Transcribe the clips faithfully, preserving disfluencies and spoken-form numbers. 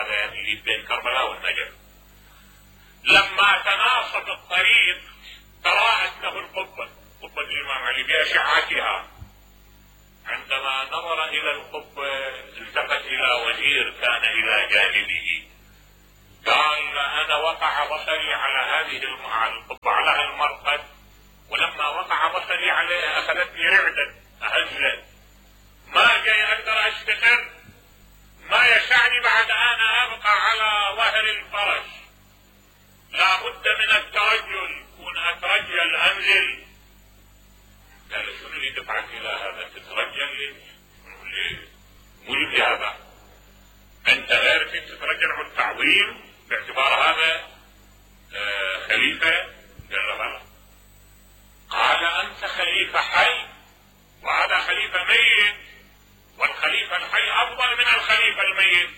هذا اللي بين كربلاء والنجف. لما تناصب الطريق تراءت له القبة، قبة الإمام علي بأشعتها. عندما نظر إلى القبة التفت إلى وزير كان إلى جانبه، قال أنا وقع بصري على هذه القبة، على المرقد، ولما وقع بصري عليها أخذتني رعدة أهزلت، ما جاي أقدر أستقر، ما يسعني بعد أنا أبقى على ظهر الفرس، لا بد من الترجل، كون أترجل أنزل. قال شنو اللي دفعك إلى هذا؟ تترجل ليه؟ مو لي هذا، أنت غير في تترجل عن التعظيم باعتبار هذا آه خليفة؟ قال له بلى. قال أنت خليفة حي وهذا خليفة ميت، والخليفة الحي أفضل من الخليفة الميت.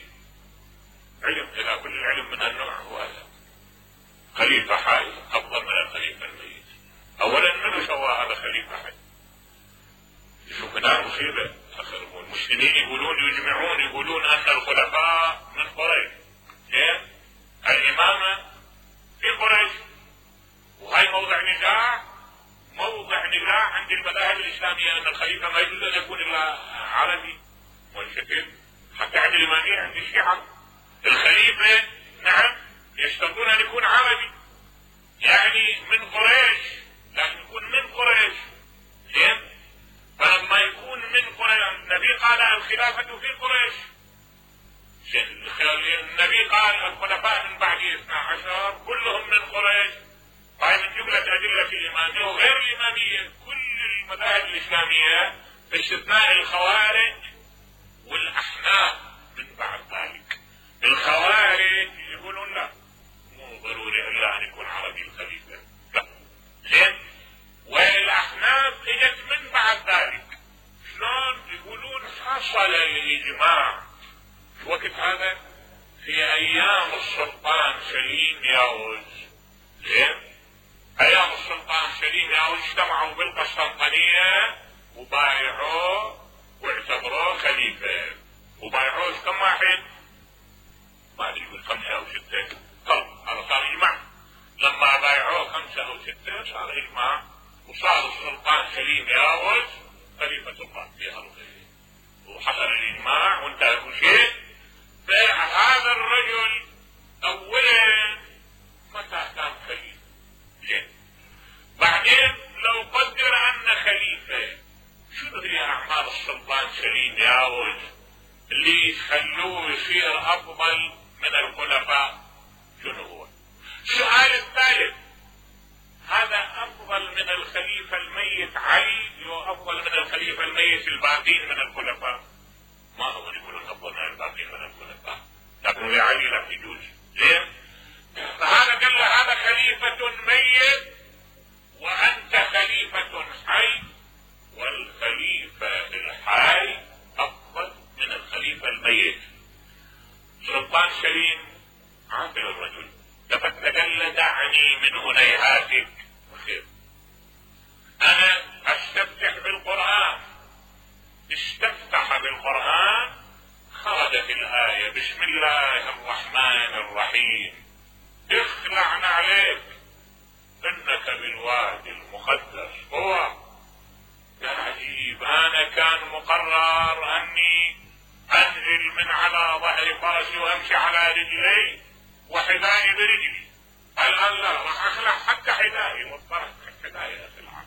علم إذا كل العلم من النوع هو هذا، خليفة حي أفضل من الخليفة الميت. أولا من سوى هذا خليفة حي؟ شوف هنا مصيبة. المسلمين يقولون يجمعون يقولون أن الخلفاء من قريش، إيه؟ الإمامة في قريش، وهي موضع نزاع، موضع نزاع عند المذاهب الإسلامية أن الخليفة ما يجوز أن يكون إلا عربي والشكل، حتى عند الإمامية عند الشيعة الخليفة نعم يشترطون أن يكون عربي، يعني من قريش، لازم يكون من قريش. زين؟ فلما يكون من قريش، النبي قال الخلافة في قريش، النبي قال الخلفاء من بعد اثنا عشر كلهم من قريش. هاي من جملة أدلة الإمامية وغير الإمامية كل المذاهب الإسلامية باستثناء الخوارج والأحناف من بعد ذلك. الخوارج يقولون لا، مو ضروري إلا أن يكون عربي الخليفة، لا. زين؟ والأحناف اجت من بعد ذلك. شلون؟ يقولون حصل الإجماع في وقت هذا في أيام السلطان سليم ياوز. زين؟ أيام السلطان سليم ياوز اجتمعوا بالقسطنطينية وبايعوه واعتبروه خليفة. وبايعوه كم واحد؟ ما ادري يقول خمسة أو ستة. طب هذا صار إجماع. لما بايعوه خمسة أو ستة صار إجماع، وصار السلطان سليم ياوز خليفة الله في أرضه، وحصل الإجماع وانتهى كل شيء. فهذا الرجل أولا متى كان خليفة؟ زين. بعدين لو قدر أن خليفة، شنو هي أعمال السلطان سليم ياوز اللي يخلوه يصير أفضل من الخلفاء؟ شنو هو؟ السؤال الثالث، هذا أفضل من الخليفة الميت علي وأفضل من الخليفة الميت الباقين من الخلفاء؟ ما هو يقولون أفضل من الباقين من الخلفاء، لكن لعلي لا يجوز. زين؟ فهذا قال له هذا خليفة ميت وأنت خليفة حي، والخليفة الحي أفضل من الخليفة الميت. سلطان سليم عاقل الرجل، لقد تقل دعني من هنيهاتك خير. أنا أستفتح بالقرآن، استفتح بالقرآن خرجت الآية بسم الله الرحمن الرحيم، اخلعنا عليك إنك بالوادي المقدس هو. يا عجيب، أنا كان مقرر أني أنزل من على ظهر فرسي وأمشي على رجلي وحذائي برجلي، الآن لا، راح أخلع حتى حذائي، واضطرت حذائي أخلع.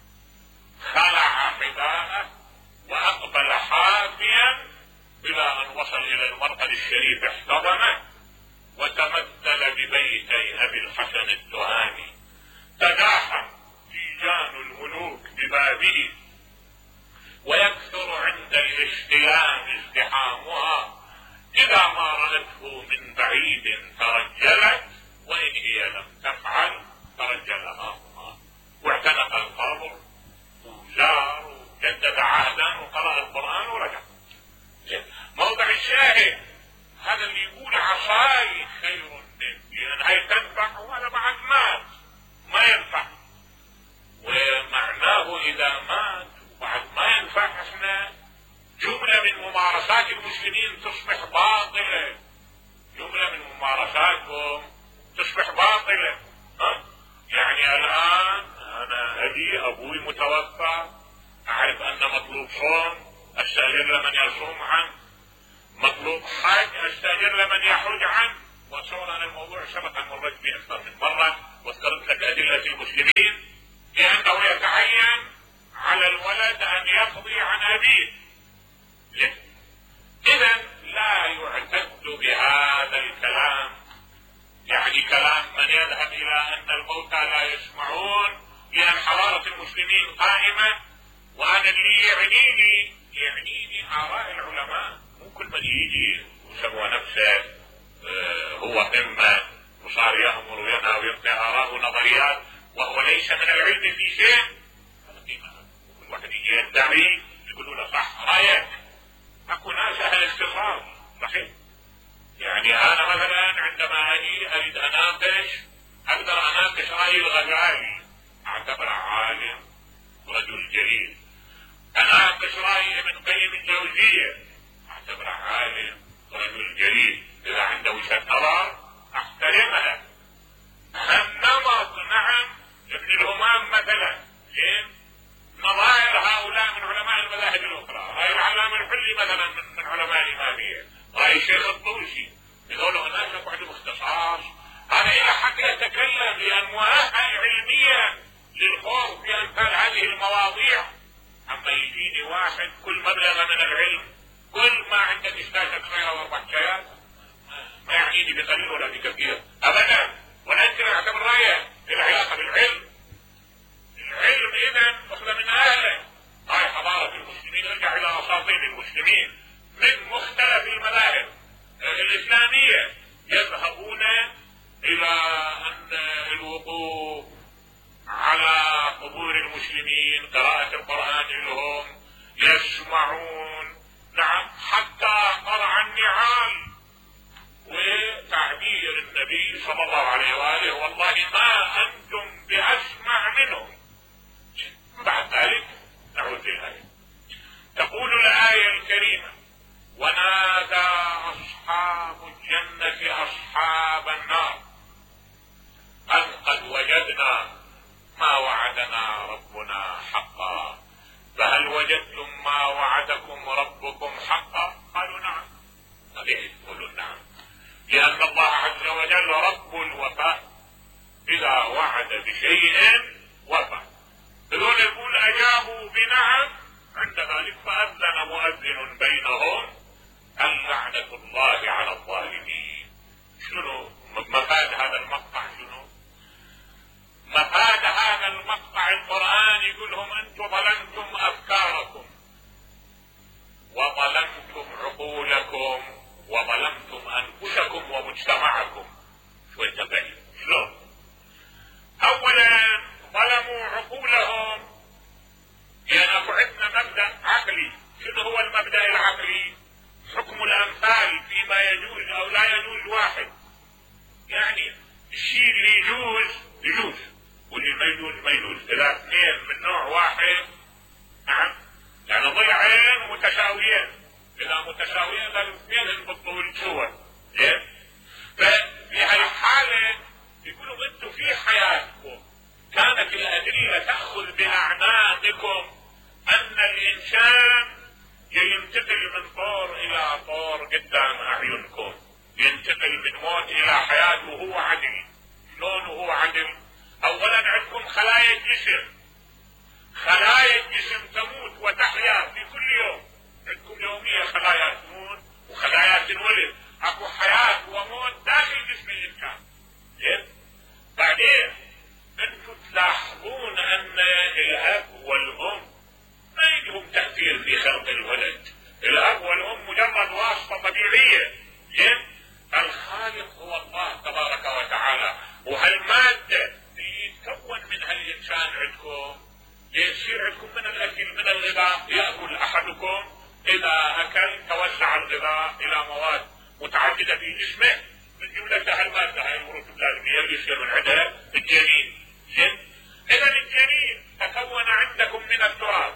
خلع حذاءه وأقبل حافيا إلى أن وصل إلى المرقد الشريف، احتضنه وتمثل ببيتي أبي الحسن التهامي، تداحم تيجان الملوك ببابه، ويكثر عند الاستلام ازدحامها، إذا ما رأته من بعيد ترجلت، وإن هي لم تفعل ترجلها هما، واعتنق القبر وزار وجدد عهدا وقرأ القرآن ورجع. موضع الشاهد هذا اللي يقول عصاي خير منك، لأن هي تنفع وهذا بعد مات ما ينفع، ومعناه إذا مات وبعد ما ينفع احنا جملة من ممارسات المسلمين تصبح باطلة، جملة ممارساتكم تصبح باطلة. ها؟ يعني الآن أنا أبي أبوي متوفى، أعرف أن مطلوب صوم، أستأجر لمن يصوم عنه، مطلوب حج، أستأجر لمن يحج عنه. وصور أنا الموضوع سبق أن مرت به أكثر من مرة واذكرت لك أدلة المسلمين لأنه يتعين على الولد أن يقضي عن أبيه. إذا لا يعتد بهذا الكلام، يعني كلام من يذهب إلى أن الموتى لا يسمعون، لأن حضارة المسلمين قائمة. وأنا اللي يعنيني يعنيني آراء العلماء، مو كل من يجي وسوى نفسه آه هو قمة وصار يأمر وينهى ويعطي آراء ونظريات وهو ليس من العلم في شيء. كل واحد يجي يدعي يقولوا له صح رأيك. أكو ناس أهل اختصاص صحيح. يعني أنا مثلا عندما أجي أريد أناقش أقدر أناقش رأي الغزالي، أعتبره عالم رجل جليل. أناقش رأي ابن قيم الجوزية، أعتبره عالم رجل جليل. إذا عنده وجهة نظر أحترمها. النمط نعم ابن الهمام مثلا زين، نظائر هؤلاء من علماء المذاهب الأخرى، رأي العلامة الحلي مثلا من, من علماء الإمامية، رأي الشيخ الطوسي، يقولوا هناك عندهم اختصاص. هذا إلى حق يتكلم لأن مؤهل علميا للخوض في أمثال هذه المواضيع. أما يجيني واحد كل مبلغ من العلم، كل ما عندك إشتاكك صغيرة وأربع شايات، ما يعنيني بقليل ولا بكثير أبدا، ولا يمكن أعتبر رأيه العلاقة بالعلم. العلم إذا أخذ من أهله. هاي حضارة المسلمين، ارجع إلى أساطين المسلمين من مختلف المذاهب الإسلامية يذهبون إلى أن الوقوف على قبور المسلمين، قراءة القرآن لهم، يسمعون نعم حتى قرع النعال. وتعبير النبي صلى الله عليه وآله والله ما أنتم بأسمع منهم. بعد ذلك نعود للآية. تقول الآية الكريمة: ونادى أصحاب الجنة أصحاب النار أن قد وجدنا ما وعدنا ربنا حقا فهل وجدتم ما وعدكم ربكم حقا؟ قالوا نعم. طبيعي يقولوا نعم، لأن الله عز وجل رب الوفاء، إذا وعد بشيء وفى. دول يقول أجابوا بنعم، عند ذلك فأذن مؤذن بينهم أن لعنة الله على الظالمين. شنو مفاد هذا المقطع؟ شنو مفاد هذا المقطع؟ القرآن يقولهم أنتم ظلمتم أفكاركم وظلمتم عقولكم وظلمتم أنفسكم ومجتمعكم. شو التبعين؟ شلون؟ أولا ظلموا عقولهم، لأن أكو عندنا مبدأ عقلي. شنو هو المبدأ العقلي؟ حكم الأمثال فيما يجوز أو لا يجوز واحد. يعني الشيء اللي يجوز يجوز واللي ما يجوز ما يجوز. إذا اثنين من نوع واحد نعم، يعني ضلعين متساويين، إذا متساويين الاثنين بالطول سوا. زين، ففي هالحالة يقولوا انتم في حياتكم كانت الأدلة تأخذ بأعناقكم أن الإنسان ينتقل من طور إلى طور قدام أعينكم، ينتقل من موت إلى حياة وهو عدل. شلون وهو عدل؟ أولا عندكم خلايا الجسم، خلايا الجسم تموت وتحيا في كل يوم. عندكم يوميا خلايا تموت وخلايا تنولد. أكو حياة وموت داخل جسم الإنسان. زين، بعدين أنتم تلاحظون أن الأب والأم ما يجهم تأثير في خلق الولد. الأب والأم مجرد واسطة طبيعية. زين، الخالق هو الله تبارك وتعالى. وهالمادة اللي يتكون منها الإنسان عندكم يصير عندكم من الأكل، من الغذاء. يأكل أحدكم، إذا أكل توزع الغذاء إلى مواد متعددة في جسمه، من جملتها المادة هاي الوروث اللازمية اللي يصير من عندها الجنين. زين، إذا الجنين تكون عندكم من التراب،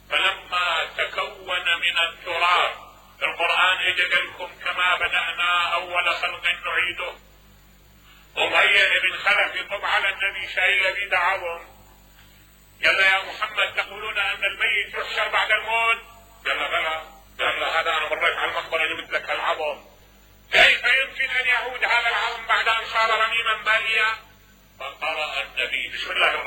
فلما تكون من التراب القرآن اجى لكم كما بدأنا اول خلق نعيده. أمية بن خلف يطب على النبي شايل بيد عظم، قال يا محمد تقولون ان الميت يحشر بعد الموت؟ قال بلى. قال هذا انا مريت على المقبره جبت لك العظم، كيف يمكن ان يعود هذا العظم بعد ان صار رميما باليا؟ فقرأ النبي بسم الله الرحمن